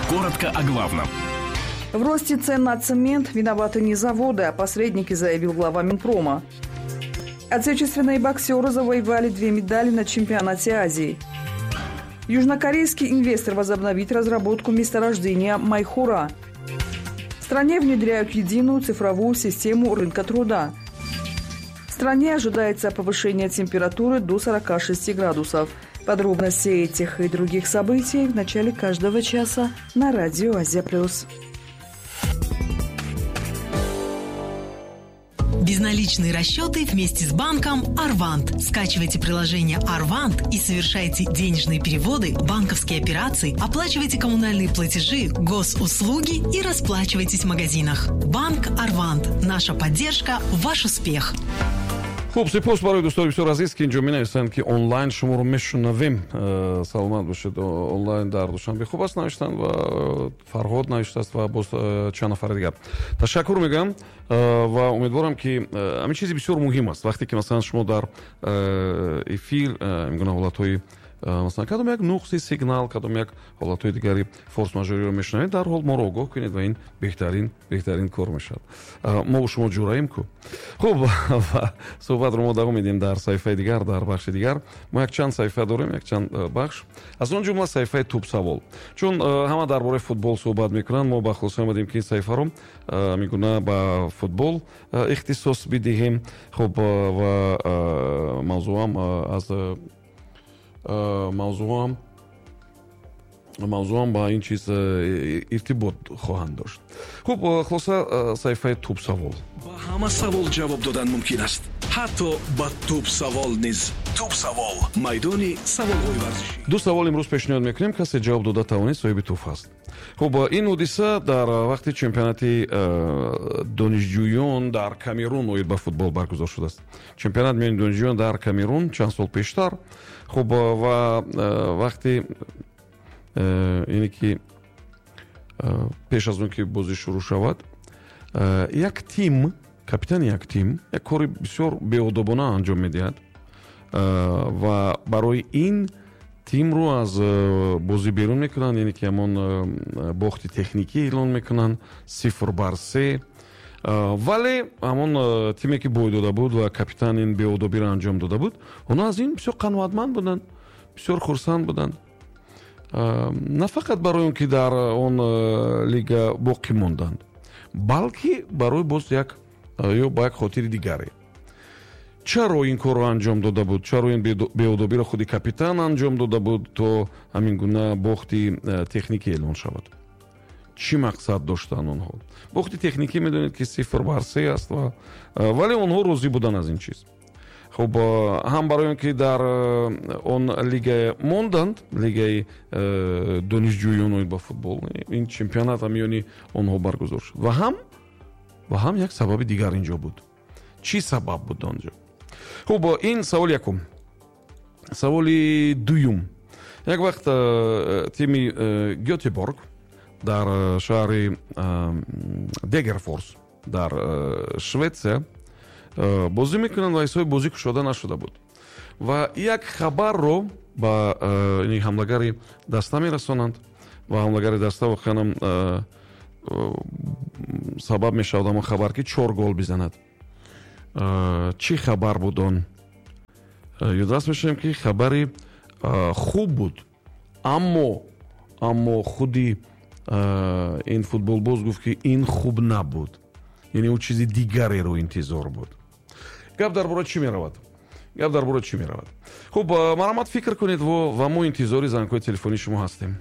Коротко о главном. В росте цен на цемент виноваты не заводы, а посредники, заявил глава Минпрома. Отечественные боксеры завоевали 2 медали на чемпионате Азии. Южнокорейский инвестор возобновит разработку месторождения Майхура. В стране внедряют единую цифровую систему рынка труда. В стране ожидается повышение температуры до 46 градусов. Подробности этих и других событий в начале каждого часа на радио «Азия Плюс». Безналичные расчеты вместе с банком «Арвант». Скачивайте приложение «Арвант» и совершайте денежные переводы, банковские операции, оплачивайте коммунальные платежи, госуслуги и расплачивайтесь в магазинах. Банк «Арвант». Наша поддержка – ваш успех. Хуб, сипос барои дӯстони бисёр азиз, ки инҷо менависанд, ки онлайн шуморо мешунавем. Саломат бошед. Онлайн дар Душанбе хуб аст, навиштанд, ва Фарҳод навиштааст, ва боз чанд нафари дигар. Ташаккур мегӯям ва умедворам, ки ҳамин чизи бисёр муҳим аст. Вақте ки масалан шумо дар эфир ин гуна ҳолатҳои, масалан, кадом як нуқси сигнал, кадом як ҳолатҳои дигари форс-мажориро мешунавед, дарҳол моро огоҳ кунед ва ин беҳтарин кор мешавад. Мо бо шумо ҷураем ку. Хуб, ва суҳбатро мо давом медиҳем дар саҳифаи дигар, дар бахши дигар. Мо якчанд саҳифа дорем, якчанд бахш, аз он ҷумла саҳифаи тӯбсавол. Чун ҳама дар бораи футбол суҳбат мекунанд, мо ба хулоса омадем, ки ин саҳифаро мегуна ба футбол ихтисос бидиҳем. Хуб, ва мавзӯам аз мавзӯам ба ин чиз иртибот хоҳанд дошт. Хуб, хулоса, саҳифаи тӯбсавол. Ба ҳама савол ҷавоб додан мумкин аст, ҳатто ба тӯбсавол низ. Тӯбсавол – майдони саволҳои варзишӣ. Ду савол имрӯз пешниҳод мекунем, касе ҷавоб дода тавонид, соҳиби туҳфа аст. Хуб, ин ҳодиса дар вақти чемпионати донишҷӯён дар Камерун оид ба футбол баргузор шудааст. Чемпионат миёни донишҷӯён дар Камерун чанд сол пештар. Хуб, ва вақти ине ки пеш аз он ки бозӣ шурӯъ шавад, як тим, капитани як тим як кори бисёр беодобона анҷом медиҳад ва барои ин тимро аз бозӣ берун мекунанд, яъне ки ҳамон бохти техникӣ эълон мекунанд, 0-3. Вале ҳамон тиме ки бой дода буд ва капитан ин беодобиро анҷом дода буд, онҳо аз ин бисёр қаноатманд буданд, бисёр хурсанд буданд. На фақат барои он ки дар он лига боқӣ монданд, балки барои боз як ё ба як хотири дигаре. Чаро ин корро анҷом дода буд? Чаро ин беодобиро худи капитан анҷом дода буд, то ҳамин гуна бохти техникӣ эълон шавад? Чӣ мақсад доштанд онҳо? Бохти техникӣ медонед, ки 0-3 аст, вале онҳо розӣ буданд аз ин чиз. Хуб, ҳам барои он ки дар он лига монданд, лигаи донишҷӯён оид ба футбол, ин чемпионат ҳам миёни онҳо баргузор шуд, ва ҳам як сабаби дигар инҷо буд. Чӣ сабаб буд онҷо? Хуб, ин савол якум. Саволи дуюм. Як вақт тими Гётеборг дар шаҳри Дегерфорс дар Шветсия бозӣ мекунанд ва ҳисоби бозӣ кушода нашуда буд. Ва як хабарро ба ҳамлагари даста мерасонанд ва ҳамлагари даста воқеан ҳам сабаб мешавад ҳамон хабар, ки 4 гол бизанад. Чӣ хабар буд он? Ёдрас мешавем, ки хабари хуб буд, аммо худи ин футболбоз гуфт, ки ин хуб набуд, яъне ӯ чизи дигареро интизор буд. Гап дар бораи чӣ меравад? Гап дар бораи чӣ меравад? Хуб, марҳамат, фикр кунед ва мо интизори зангҳои телефонии шумо ҳастем.